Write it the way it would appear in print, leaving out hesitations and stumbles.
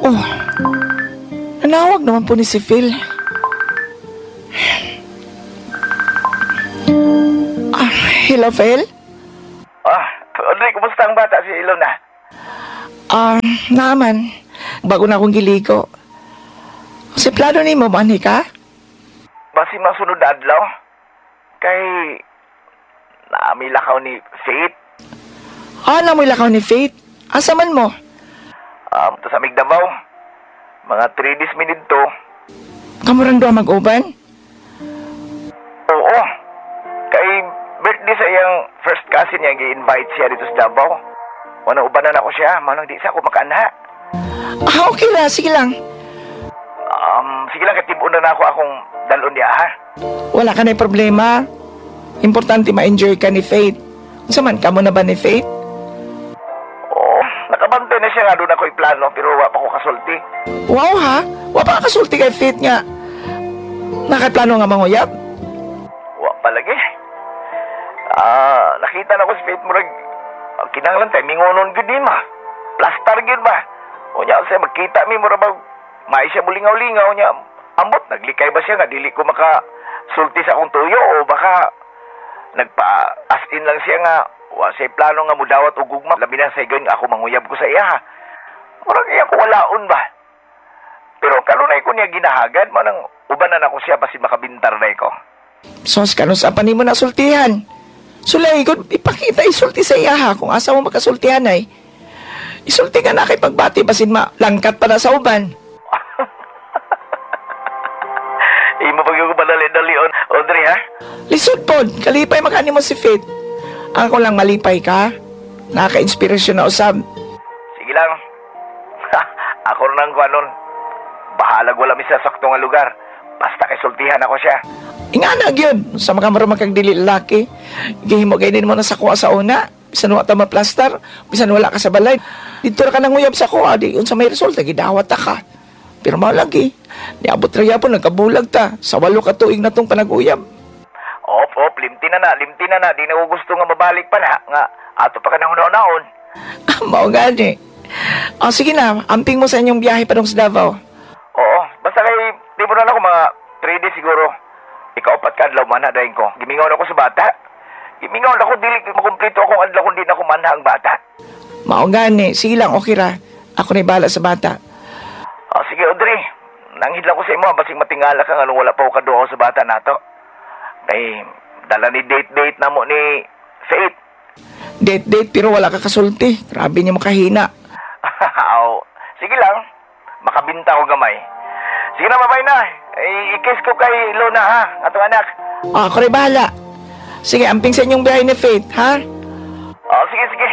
Oh, nanawag naman po ni si Phil. Ah, hello, Phil? Ah, Audrey, kumusta ang bata si Ilona? Ah, naman. Bago na akong giligo. Si plano ni mo, manhi ka? Basi masunod na adlaw. Kay naami lakaw ni Faith. Ah, namoy lakaw ni Faith. Asa man mo? To sa Migdabao. Mga 3 days mi didto. Kamurang doon mag-uban? Oo. Kay birthday sa iyang first cousin niya, gi-invite siya dito sa Davao. Wala ubanan ako siya, manang di sa ako makaanha. Ah, okay ra. Sige lang. Sige lang, katibon na ako akong dalon niya, ha? Wala ka na problema. Importante ma-enjoy ka ni Faith. Unsa man ka mo na ba ni Faith? Oo, nakabantay na siya nga doon ako'y plano, pero wa pa ko kasulti. Wow ha? Wa pa ka kasulti kay Faith nga. Nakaplano nga manguyab? Wa pa lagi. Ah, nakita na ko si Faith murag kinahanglan tay mingonon gyud ni ma. Plastar gyud ba. Unya siya magkita mi murag bag may siya mulingaw-lingaw nya. Ambot naglikay ba siya nga dili ko maka sulti sa akong tuyo o baka nagpa as in lang siya nga wa siya plano nga mudawat og gugma labi na sa higayon nga ako manguyab ko sa iya ha. Murag iya ko walaon ba. Pero kanunay ko niya ginahagad manang ubanan ako siya basin makabintar na ko. Sos, kanus pa nimo na sultihan. Sulay, kung ipakita isulti sa iya ha, kung asa mo makasultihan ay. Isulti ka na kay pagbati, basin malangkat pa na sa uban. Imo pag yung padali-dali, Audrey, ha? Lisod pod, kalipay makani mo si Faith. Ako lang malipay ka. Naka-inspirasyon na usab. Sige lang. Ako na nang kuha nun. Bahalag wala mi sa sakto nga lugar. Basta kay sultihan ako siya. Ingana gyud sa mga marumang kag dili lalaki. Gihimo gaynin mo na sa kuha sa una. Bisan wa ta maplastar, bisan wala ka sa balay. Dito ra ka nanguyab sa kuha, di unsa may resulta gidawat ta ka. Pero mao lagi, niabot ra gyapon nagkabulag ta sa 8 ka tuig na tong panaguyab. Op, op, limti na na, limti na na. Di na ko gusto nga mabalik pa na. Nga, ato pa ka nang hunaon. Mao gani. O sige na, amping mo sa inyong biyahe padung sa Davao. Oo, basta kay, di mo na lang ako mga 3 days siguro. Ikaw pat ka adlaw man dahin ko. Gimingaw na ako sa bata. Gimingaw na ako, dili makumplito akong adlaw kung di na ako manha ang bata. Mao gani, sige lang, okay ra. Ako na bahala sa bata. O, sige, Audrey. Nanghid lang ko sa imo, basig matingala ka nga nung wala pa ko kaduha sa bata nato. Kay, dala ni date-date na mo ni Faith. Date date pero wala ka kasulti. Grabe niya makahina. Aw, sige lang. Makabinta ko gamay. Sige na, babay na. Eh, i-kiss ko kay Lona, ha? Atong anak. Ah, ako rin bahala. Sige, amping sa inyong biyahe ni Faith, ha? O, sige, sige.